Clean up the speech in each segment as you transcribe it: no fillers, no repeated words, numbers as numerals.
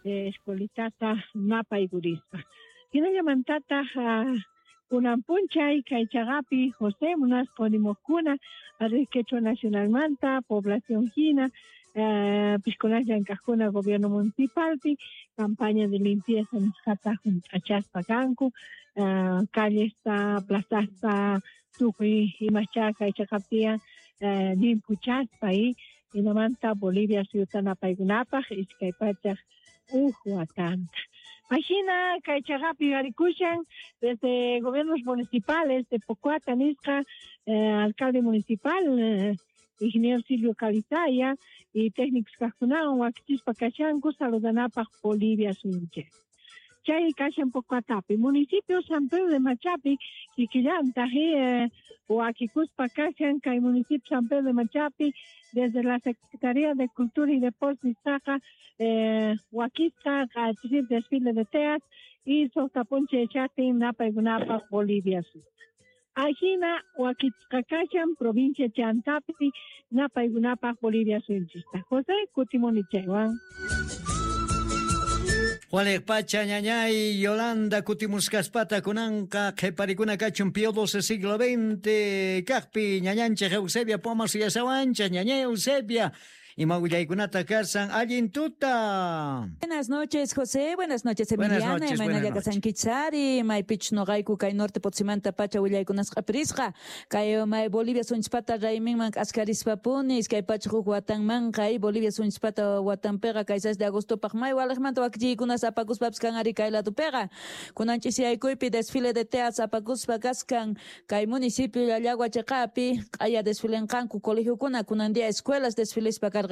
Escuelitata napaykurispa. Hinallamantataq kunan p'unchay kay chaqapi José munaspa nimuqkuna Red Quechua Nacionalmanta población hina pishkunas llank'aqkuna gobierno municipalpi campaña de limpieza nisqata hunt'achaspa kanku, callesta, plazasta, tukuy imaschá kay chaqapi tiyan llimphuchaspa y hinamanta Bolivia suyuta napaykunapaq 201 watanta. Ajina kay chaqapi yuyarikushan desde gobiernos municipales de Pocoata nisqa, alcalde municipal ingeniero Silvio Calizaya y técnicos kaqkunawan wakichispa kashanku saludanapaq Bolivia suyunchik. Chay kashan Pocoatapi, municipio San Pedro de Machapi, kikillantaq wakikuspa kashan kay municipio San Pedro de Machapi desde la Secretaría de Cultura y Deportes nisqaqa wakisqa q'achirip desfile de teas y suqta p'unchay chaqtin napaykunapaq Bolivia suyuta. Ajina wakichisqa kashan provincia Chantapi napaykunapaq Bolivia suyunchista. José, kutimuni chaywan. Waliq pacha ñañay Yolanda kutimuskaspata kunanqa qhiparikuna kachun Pío XII siglo XX kaqpi ñañanchik Eusebia Poma suyasawanchik ñañay Eusebia ima willaykunata kasan allin tuta. Buenas noches, José. Buenas noches, Buenas Emiliana. noches, Imayna buenas llaka noches. sankichari, maypichus noqayku kay norte Potosímanta pacha willaykunasqa prisqa. Kay may Bolivia sunchpata rayminman k'askarispapuni, 201 watanmanqa, ay Bolivia sunchpata watanpiqa kay 6 de agostopaq may waliqmanta wakichiykunas apakuspapis kan ari kay ladopiqa. Kunan ch'isiyaykuypi desfile de teas apakuspa kaskan kay municipio Llallagua chiqapi q'aya desfilenqanku colegiokuna kunan día escuelas desfilespa karqanku,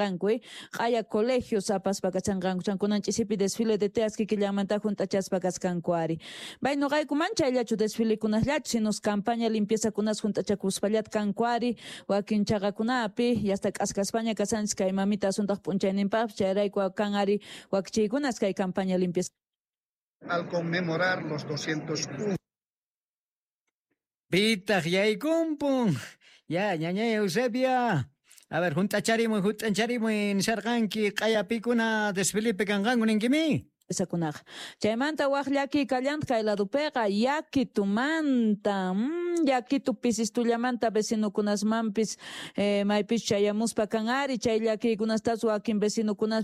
q'aya colegios apaspa kachanqanku, chan kunan ch'isipi desfile de teas kikillanmanta junt'achaspa kaskanku ari. Bay noqayku man chayllachu desfilekunasllachu, sino campaña limpieza kunas junt'achakuspallat kanku ari, wakin chaqakunapi, yasta k'askaspaña kasanchis kay mamita asuntaq p'unchayninpaqpis, chayrayku kan ari wakichiykunas kay campaña limpieza. Al conmemorar los 201. Pitaq yaykumpun. Ya, ñañay Eusebia. A ver, junt'acharimuy, junt'acharimuy, nisharqanki q'ayapikuna desfilipi kanqanku ninkimi. Sakunaqa. Chaymanta waj llaki kallanta kay ladopiqa yakitumanta, yakitu pisistullamanta vecinokunasmanpis, maypis chayamuspa kan ari chay llakiykunastas wakin vecinokunas